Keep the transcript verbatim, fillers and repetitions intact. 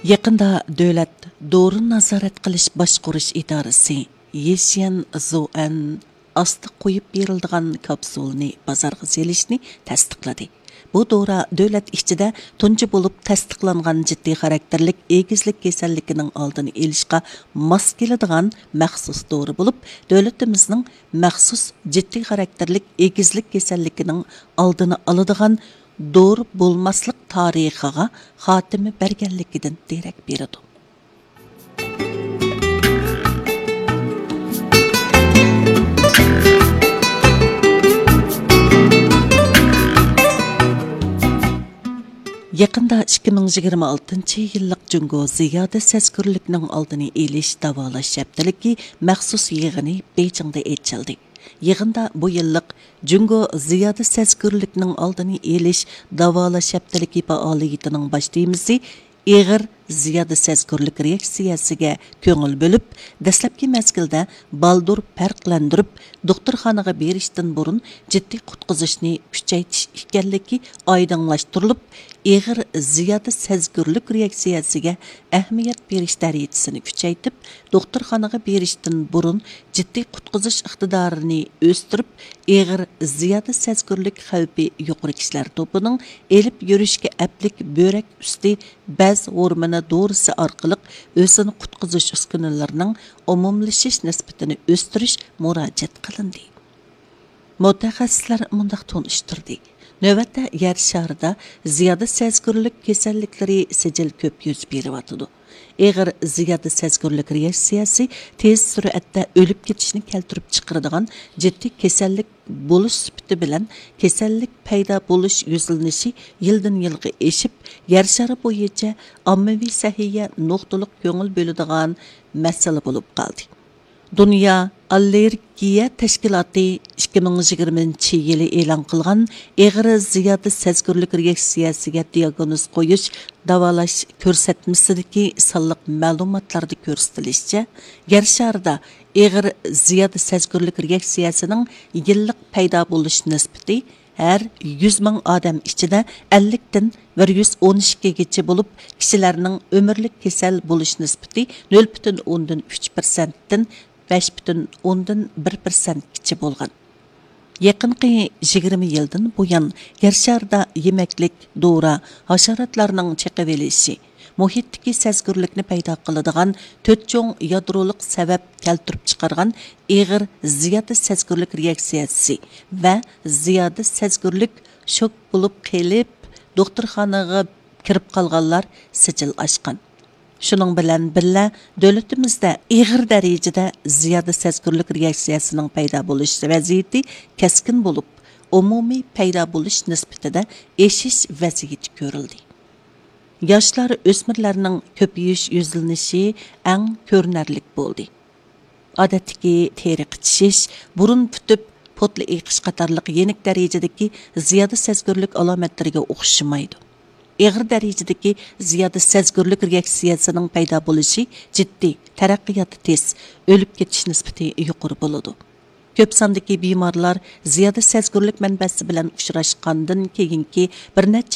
يېقىندا دۆلەت دورىنى نازارەت قىلىش باشقۇرۇش ئىدارىسى يېشيەن زۇئەن ئاستا قويۇپ بېرىلىدىغان كاپسۇلنى بازارغا سېلىشنى تەستىقلىدى. بۇ دورا دۆلەت ئىچىدە تۇنجى بولۇپ تەستىقلانغان جىددىي خاراكتېرلىك ئېگىزلىك كېسەللىكىنىڭ ئالدىنى ئېلىشقا ماس كېلىدىغان مەخسۇس دورا بولۇپ، دۆلىتىمىزنىڭ مەخسۇس جىددىي خاراكتېرلىك ئېگىزلىك كېسەللىكىنىڭ ئالدىنى ئالىدىغان دورا بولماسلىق تارىخىغا خاتىمە بەرگەنلىكىدىن دېرەك بېرىدۇ. يېقىندا ئىككى مىڭ يىگىرمە ئالتىنچى يىللىق جۇڭگو زىيادە سەزگۈرلۈكنىڭ ئالدىنى ئېلىش داۋالاش ھەپتىلىكى مەخسۇس يىغىنى بېيجىڭدا ئېچىلدى. يىغىندا بۇ يىللىق جۇڭگو زىيادە سەزگۈرلۈكنىڭ ئالدىنى ئېلىش داۋالاش ھەپتىلىكى پائالىيىتىنىڭ باش تېمىسى ئېغىر زىيادە سەزگۈرلۈك رېئاكسىيەسىگە كۆڭۈل بۆلۈپ، دەسلەپكى مەزگىلدە بالدۇر پەرقلەندۈرۈپ، دوختۇرخانىغا بېرىشتىن بۇرۇن جىددىي قۇتقۇزۇشنى كۈچەيتىش ئىكەنلىكى ئايدىڭلاشتۇرۇلۇپ، ئېغىر زىيادە سەزگۈرلۈك رېئاكسىيەسىگە ئەھمىيەت بېرىش دەرىجىسىنى كۈچەيتىپ، دوختۇرخانىغا بېرىشتىن بۇرۇن جىددىي قۇتقۇزۇش ئىقتىدارىنى ئۆستۈرۈپ، ئېغىر زىيادە سەزگۈرلۈك خەۋپى يۇقىرى كىشىلەر توپىنىڭ ئېلىپ يۈرۈشكە ئەپلىك بۆرەك ئۈستى بەز ھورمونى دورىسى ئارقىلىق ئۆزىنى قۇتقۇزۇش ئۈسكۈنىلىرىنىڭ ئومۇملىشىش نىسبىتىنى ئۆستۈرۈش مۇراجىئەت قىلىندى. مۇتەخەسسىسلەر مۇنداق تونۇشتۇردى: نۆۋەتتە يەر شارىدا زىيادە سەزگۈرلۈك كېسەللىكلىرى سىجىل كۆپ يۈز بېرىۋاتىدۇ. ئېغىر زىيادە سەزگۈرلۈك رېئاكسىيەسى تېز سۈرئەتتە ئۆلۈپ كېتىشنى كەلتۈرۈپ چىقىرىدىغان جىددىي كېسەللىك بولۇش سۈپىتى بىلەن، كېسەللىك پەيدا بولۇش يۈزلىنىشى يىلدىن يىلغا ئېشىپ، يەر شارى بويىچە ئاممىۋى سەھىيە نۇقتىلىق كۆڭۈل بۆلىدىغان مەسىلە بولۇپ قالدى. دۇنيا ئاللېرگىيە تەشكىلاتى ئىككى مىڭ يىگىرمىنچى يىلى ئېلان قىلغان ئېغىر زىيادە سەزگۈرلۈك رېئاكسىيەسىگە دىئاگنوز قويۇش، داۋالاش كۆرسەتمىسىدىكى سانلىق مەلۇماتلاردا كۆرسىتىلىشىچە، يەر شارىدا ئېغىر زىيادە سەزگۈرلۈك رېئاكسىيەسىنىڭ يىللىق پەيدا بولۇش نىسبىتى ھەر يۈز مىڭ ئادەم ئىچىدە ئەللىكتىن بىر يۈز ئون ئىككىگىچە بولۇپ، كىشىلەرنىڭ ئۆمۈرلۈك كېسەل بولۇش نىسبىتى نۆل پۈتۈن ئوندىن ئۈچ پىرسەنتتىن بەش پۈتۈن ئوندىن بىر پىرسەنتكىچە بولغان. يېقىنقى يىگىرمە يىلدىن بۇيان، يەر شارىدا يېمەكلىك، دورا، ھاشاراتلارنىڭ چېقىۋېلىشى، مۇھىتتىكى سەزگۈرلۈكنى پەيدا قىلىدىغان تۆت چوڭ يادرولۇق سەۋەب كەلتۈرۈپ چىقارغان ئېغىر زىيادە سەزگۈرلۈك رېئاكسىيەسى ۋە زىيادە سەزگۈرلۈك شوك بولۇپ قېلىپ، دوختۇرخانىغا كىرىپ قالغانلار سىجىل ئاشقان. شۇنىڭ بىلەن بىللە، دۆلىتىمىزدە ئېغىر دەرىجىدە زىيادە سەزگۈرلۈك رېئاكسىيەسىنىڭ پەيدا بولۇش ۋەزىيىتى كەسكىن بولۇپ، ئومۇمىي پەيدا بولۇش نىسبىتىدە ئېشىش ۋەزىيىتى كۆرۈلدى. ياشلار، ئۆسمۈرلەرنىڭ كۆپىيىش يۈزلىنىشى ئەڭ كۆرۈنەرلىك بولدى. ئادەتتىكى تېرە قىچىشىش، بۇرۇن پۈتۈپ، پوتلا ئېقىش قاتارلىق يېنىك دەرىجىدىكى زىيادە سەزگۈرلۈك ئالامەتلىرىگە ئوخشىمايدۇ. ئېغىر دەرىجىدىكى زىيادە سەزگۈرلۈك رېئاكسىيەسىنىڭ پەيدا بولۇشى جىددىي، تەرەققىياتى تېز، ئۆلۈپ كېتىش نىسبىتى يۇقىرى بولىدۇ. كۆپ ساندىكى بىمارلار زىيادە سەزگۈرلۈك مەنبەسى بىلەن ئۇچراشقاندىن كېيىنكى بىر نەچچە